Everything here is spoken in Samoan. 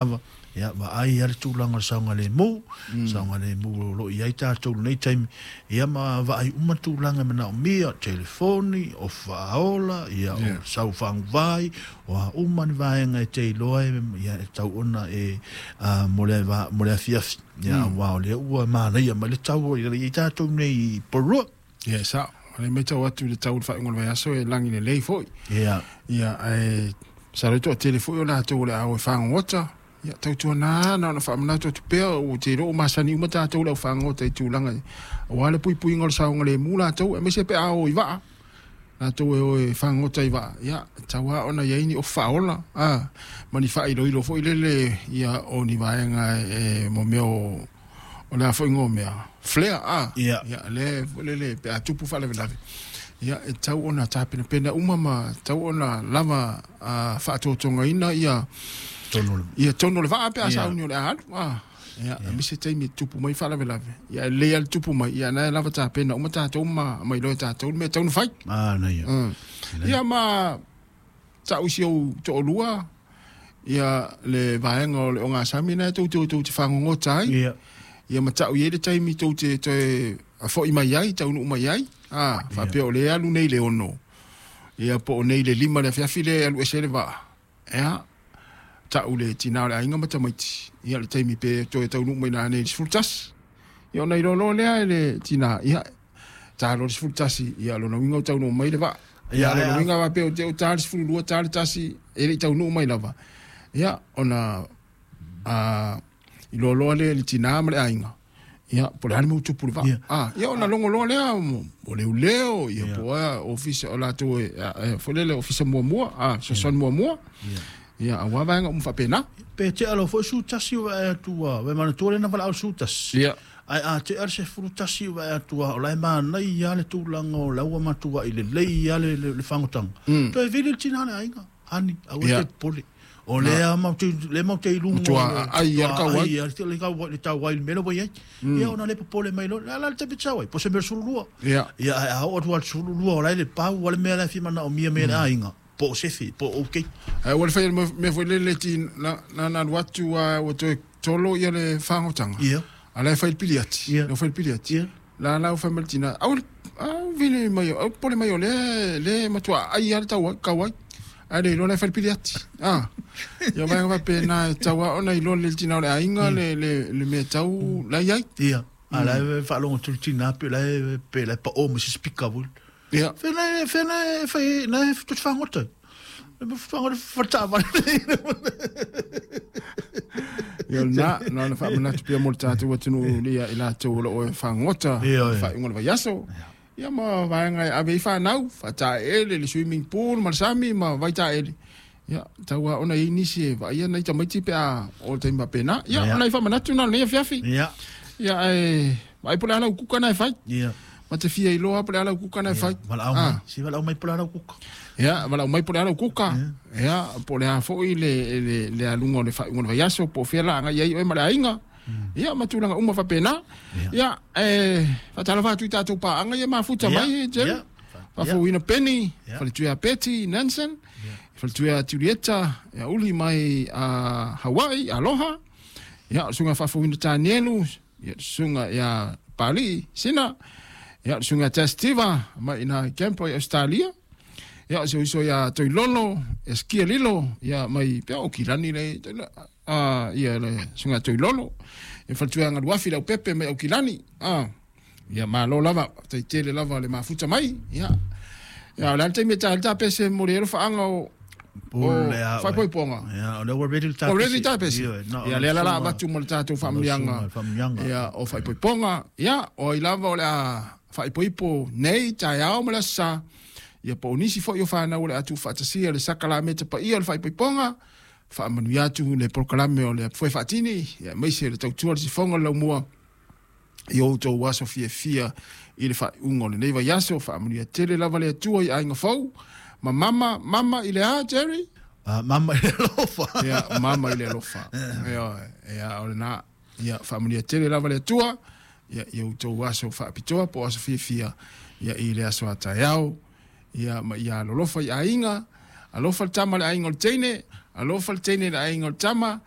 Lava, ia, vaai lava le tulaga o le saogalemu, saogalemu o lo o i ai tatou i lenei taimi, ia ma vaai uma tulaga e manaomia, telefoni, o faaola, ia, o sau faguvai, o a uma ni vaega e te iloa e, ia, e tatau ona e, mo le, mo le afiafi, ia, aua o lea ua manaia mai le tau o i ai tatou nei i Porirua. Ia, e sao. O lea e matau atu i le tau o le faaiuga o le vaiaso e lagi lelei foi. Ia. Ia, ae masalo e toatele foi o latou o le a o e fagogota. Ia, tautuana na ona faamanatu atu pea, ou te iloa ua masani uma tatou i le au fagogota i tulaga ia, aua le puipuiga o le saogalemu latou, aemaise pe a o i vaa. Latou e o e fagogota i vaa, ia, e tatau lava ona i ai ni ofu faaola, a, ma ni faailoilo foi lele, ia, o ni vaega e, mo mea o, o le a foi igoa o mea, flare, a, ia, lea foi lele pe a tupu faalavelave, ia, e tatau ona tapenapena uma ma tatau ona lava faatotogaina ia ia tonu o le vaa pe a sauni o le a alu, a, ia, aemaise taimi e tupu mai faalavelave, ia, e lelei lava le tupu mai, ia, na e lava tapena uma tatou ma iloa e tatou le mea e tatau ona fai. Manaia. Ia, ma tau i si ou toalua ia le vaega o le ogasami lena tou te o tou te fagogota ai. Ia ma tau i ai le taimi tou te toe foi mai ai, taunuu mai ai. A, faapea o lea e alu nei i le 6, ia po o nei i le 5 i le afiafi lea e alu ese ai le vaa. Ia, tau le tina o le aiga ma tamaiti, ia le taimi pe toe taunuu mai nanei i le 11. Ia ona iloa loa lea e le tina, ia, ta loa le 11, ia lona uiga ua taunuu mai le vaa. Ia lona uiga faapea o te o ta le 12, ta le 1, e le i taunuu mai lava. Ia ona iloa loa lea e le tina ma le aiga, ia po o le a le mea ua tupu i le vaa. Ia ona logo loa lea o leoleo, ia po o a ofisa o latou e foi lele ofisa muamua, fesoasoani muamua. Ia aua vaega uma faapena. Pe tea loa foi 11 o vae atu a, vai manatua lea na valaau le 11. Ae a tea le 11 o vae atu a, o la e manaia lava le tulaga o la ua matuai lelei lava le fagotaga. Toe vili le tina o le aiga, honey, aua e te popole. O lea matou te, lea matou te i luga o le, aai lava le tauai. Aai le tauai i le mea lea ua i ai. Ia ona le popole mai loa, o le a la le taimi e te sau ai? Po o se mea o le 12. Ia ae a oo atu lava i le 12 o la e le pau lava le mea la e fia manaomia mai e le aiga. Po o sefe, po o ok. Ae ua le faia le mea foi lele ti na na alu atu a ua toe tolo ia le fagotaga. A la e fai le piliati. La fai le piliati. La la fai mai le tina. Au au vili mai au pole mai o le le matua ai a le tau kau ai. Ae le iloa la e fai le piliati. Ah. Ia vaega faapena e tau lava ona iloa le tina o le aiga le le le mea tau la i ai. Ia. A la e faalogo atu le tina pe la e pe la e pao ma se speaker foi. Ia. Fea na fea na e fai na e tou te fagota ai. Fagota fataavale. Ia na na ona faamanatu pea mo le tatou atunuu ia i latou o lo o e fagota i le faaiuga o le vaiaso. Ia ma vaega e ave ai fanau, faataele le swimming pool ma le sami ma vaitaele. Ia, tau lava ona i ai nisi e vaaia nai tamaiti pe a o le taimi faapena. Ia, o nai faamanatu na o lenei afiafi. Ia, ae vaai po o le a lau kuka na e fai. Ma te fia iloa po o le a lau kuka na e fai. Valaau mai. Si valaau mai po o le a lau kuka. Ia, valaau mai po o le a lau kuka. Ia, po o le a foi le, le, le aluga o le faaiuga o le vaiaso, po o fea la agai ai oe ma le aiga. Ia, ma tulaga uma faapena. Ia, e faatalofa atu i tatou paaga ia mafuta mai, Jerry. Faafouina Penny, faletuia Betty Nansen, faletuia Julieta, ia uli mai a Hawaii, aloha. Ia, o le susuga faafouina Tanielu, ia le susuga ia Palii Sina, ia le susuga Testiva mai ina i Canberra i Australia. Ia, o si ou uso ia Toilolo, ia Skia Lilo, ia mai pea o Kilani le, ia le susuga Toilolo. Ia faletuia Galuafi Leaupepe mai Aukilani. Ia malo lava, faafetai tele lava le mafuta mai. Ia, ia o le a le taimi e ta ai le tapese mo le alofaaga o faaipoipoga. Ia, o lea ua ready le tapese. Ua ready le tapese. Ia, lea la la avatu mo le tatou faamanuiaga. Ia, o faaipoipoga. Ia, o ai lava o le a faaipoipo nei, taeao ma le aso Sa. Ia, po o nisi foi o fanau o le a tuufaatasia le sakalameta paia o le faaipoipoga. Faamanuia atu le polokalame o le Foe Faatini, ia, aemaise le tautua le sifoga o le laumua. I outou aso fiafia i le faaiuga o lenei vaiaso. Faamanuia tele lava le Atua i aiga fou. Ma mama, mama i le a, Jerry? Mama i le alofa. Ia, mama i le alofa. Ia, ia, o lena. Ia, faamanuia tele lava le Atua. Ia, i outou aso faapitoa po o aso fiafia. Ia, i le aso a taeao. Ia, ma ia alolofa i aiga. Alofa le tama i le aiga o le teine. Alofa le teine i le aiga o le tama.